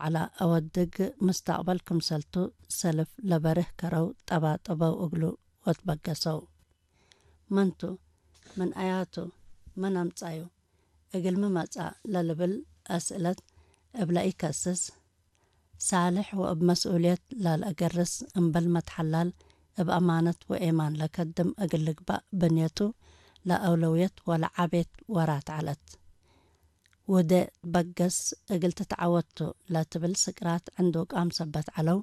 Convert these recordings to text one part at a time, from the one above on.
ዓላ ኣወድግ ምስተቕበል ክምሰልቱ ሰልፍ ለበርህ ከረው ጠባጠበው እግሉ ወትበገሰው። መንቱ፣ ምን ኣያቱ፣ መን ኣምጻዩ፣ እግልሚ መጻ ለልብል ኣስእለት እብለ ኢከስስ፣ ሳልሕ ወእብ መስኡልየት ላልአገርስ እምበል መትሐላል እብ አማነት ወኤማን ለከድም እግል ልግባእ ብንየቱ ለአውለውየት ወለዓቤት ወራት ዐለት። ውዴ ትበገስ እግል ትትዓወቱ ለትብል ስቅራት ዕንዱቃም ሰበት ዐለው፣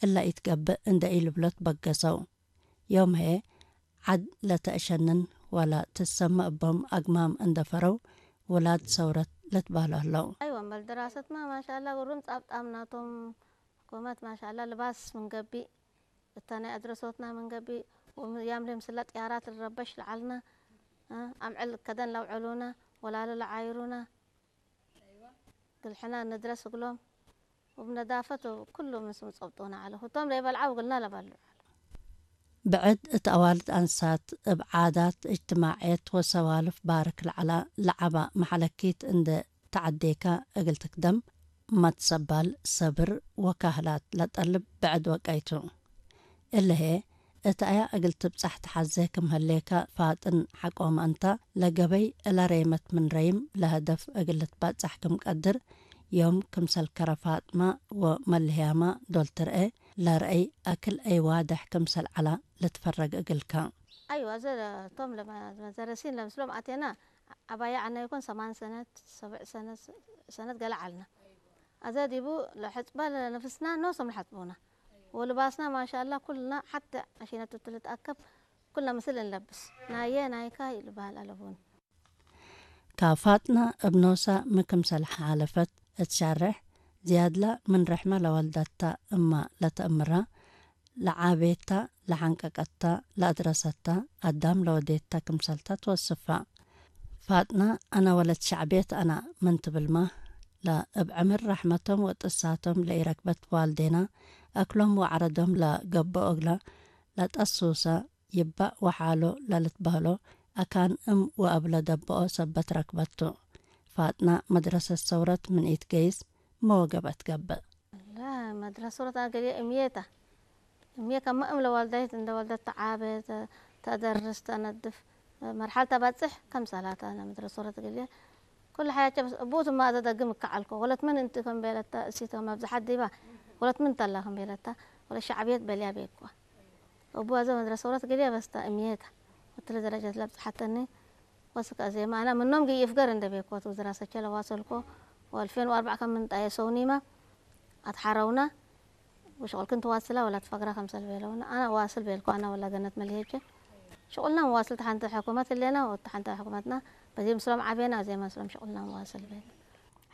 እለ ኢትገብእ እንዴ ኢልብሎ ትበገሰው። ዮም ህዬ ዐድ ለተአሸንን ወለ ትሰመ እቦም አግማም እንደ ፈረው ውላድ ሰውረት ለትበህሎ ህለው። አይወ እምበል ድራሰትማ ማሻአላ ግሩም ጻብጣም ናቶም ሕኩመት ማሻአላ ልባስ ምን ገቢእ እታ ናይ አድረሶትና ምን ገቢእ ወም-፣ ያምሌ ምስላ ጥያራት ልረበሽ ለዓልና እ፣ አምዕል ከደን ለውዐሉና ወላለ ለዓይሩና ግልሕና ንድረስ እግሎም። ወብነዳፈት ኩሉ ምስ ምጸብጡና ዐለ። ህቶም ለይበልዓ ውግልና ለበልዑ ዐለ። ብዕድ እት አዋልድ አንሳት እብ ዓዳት እጅትማዕየት ወሰዋልፍ ባርክ ለዐላ ለዓባ መሐለኪት እንደ ተዐዴካ እግል ትክደም መትሰባል ሰብር ወካህላት ለጠልብ ብዕድ ወቀይቱ። እለ ህዬ፣ እት አያ እግል ትብጻሕ ተሐዜ ክም ህሌከ ፋጥን ሐቆመ እንተ፣ ለገበይ እለ ሬመት ምን ረይም ለሀደፍ እግል ልትበጻሕ ክም ቀድር፣ ዮም ክምሰል ከረ ፋጥመ ወመልህያመ ዶል ትርኤ፣ ለርአይ አክል አይ ዋድሕ ክምሰል ዐላ ልትፈረግ እግልከ። አይወ፣ አዘ ቶም ለመ-፣ መዘረሲን ለምስሎም አቴና፣ ዐባያ ዐና ይኮን ሰማን ሰነት፣ ሰብዕ ሰነት፣ ሰነት ገለ ዐልና። አዘ ዲቡ ለሐጽባ ለነፍስና ኖሶም ለሐጽቡና። ወልባስና ማሻአላ ኩልና ሐተ አሺነት እቱ ልትአከብ ኩልና ምስል እንለብስ። ናየ ናይካ ይልበሃል አለቡን። ካብ ፋጥና እብ ኖሳ ሚ ክምሰል ሓለፈት እት ሸርሕ፣ ዝያድላ ምን ርሕመ ለወልደታ እማ ለተእምራ፣ ለዓቤታ፣ ለሐንቀቀታ፣ ለአድረሰታ፣ አዳም ለወዴታ ክምሰልታ ትወስፋ። ፋጥና፣ አነ ወለት ሸዕቤት አና ምን ትብልማ፣ ለእብ ዕምር ረሕመቶም ወጥሳቶም ለኢረክበት ዋልዴና፣ አክሎም ወዐረዶም ለገብኦ እግላ፣ ለጠሱሰ፣ ይባእ ወሓሎ ለልትበህሎ አካን እም ወአብ ለደብኦ ሰበት ረክበቱ። ፋጥና መድረሰት ሰውረት ምን ኢትገይስ መወገበት ገብእ። ላ መድረሰት ሰውረት አገሌ እምየታ። እምየ ከመ እም ለዋልዳይት እንደ ወልደት ተዓበ፣ ተ-፣ ተደርስ፣ ተነድፍ፣ መርሓል ተባጽሕ ከም ሰላታ መድረሰት ሰውረት ገሌ ኩሉ ሓያቸ በስ እቡት እማ አዘ ደግም እከዓልኮ። ወለት ምን እንቲ ከም ቤለታ እሲቶ መብዝሓት ዲባ ወለት ምን ተላ ከም ቤለታ ወለት ሸዕብየት በልያ ቤኳ። እቡ አዘ መድረሰ ወረት ገሊያ በስታ እምየታ ወትለ ደረጀት ለብጽሐተኒ ወስከ አዜማ አና ምኖም ግይ እፍገር እንደ ቤኮት ውዝራ ሰቸ ለዋሰልኮ ወአልፌን ወአርባዕ ከም ምንጣየ ሰውኒማ አትሓረውና ወሽቁልክን ትዋስላ ወላ ትፈግራ ከምሰል ቤለውና አና ዋስል ቤልኮ አና ወላ ገነት መልሄጀ ሽቁልና መዋስል ተሓንተ ሕኩመት እሌና ወተሓንተ ሕኩመትና በዚ ምስሎም ዓቤና አዜማ ምስሎም ሽቁልና መዋስል ቤል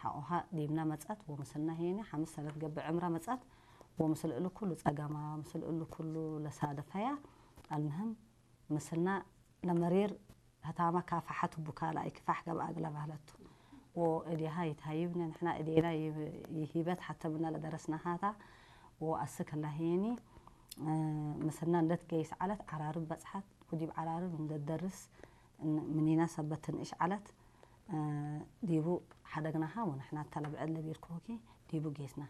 ሓቆኻ ዲብና መጻት ወምስልና ሄኒ ሓምስ ሰነት ገብእ ዕምራ መጻት ወምስል እሉ ኩሉ ጸገማ ምስል እሉ ኩሉ ለሳደፈያ አልምህም ምስልና ለመሪር ህታማ ካፋሓት ቡካ ለአይ ክፋሕ ገብአ እግለ ባህለቱ ወእዴሃ ይትሃይብነ ንሕና እዴና ይብ-፣ ይሂበት ሓተ ምና ለደረስና ሃታ ወአስክ ላሄኒ ምስልና እንደት ገይስ ዓለት ዓራርብ በጽሓት ወዲብ ዓራርብ እንደደርስ ን-፣ ምኒና ሰበት ትንእሽ ዓለት ዲቡ ሓደግናሃ ወንሕና ተለብዐ ለቢርኮኪ ዲቡ ጌስና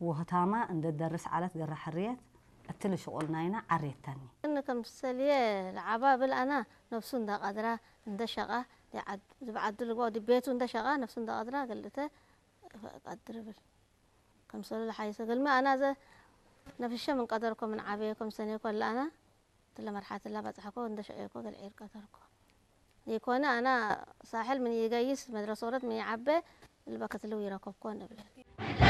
ወህታማ እንደ ደርስ ዓለት ገራ ሕርየት እትል ሽቁል ናይና ዓሬተኒ። እን ከም ሰልየ ለዓባ ብል አና ነፍሱ እንደ ቀድራ እንደ ሸቃ ዝብዓዱ ልግባው ድቤቱ እንደ ሸቃ ነፍሱ እንደ ቀድራ ገልተ ቀድር ብል ከም ሰሉ ለሓይሰ ገልሚ አና ዘ ነፍሸ ምን ቀደርኮ ምን ዓበየ ከም ሰኔኮ ለአና ትለ መርሓት ላ በጽሐኮ እንደ ሸቄኮ ገልዒር ቀደርኮ። ይኮነ አና ሳሕል ምን ይገይስ መድረሰ ወረት ምን ይዓበ ልበከትልው ይረከብኮ ንብል።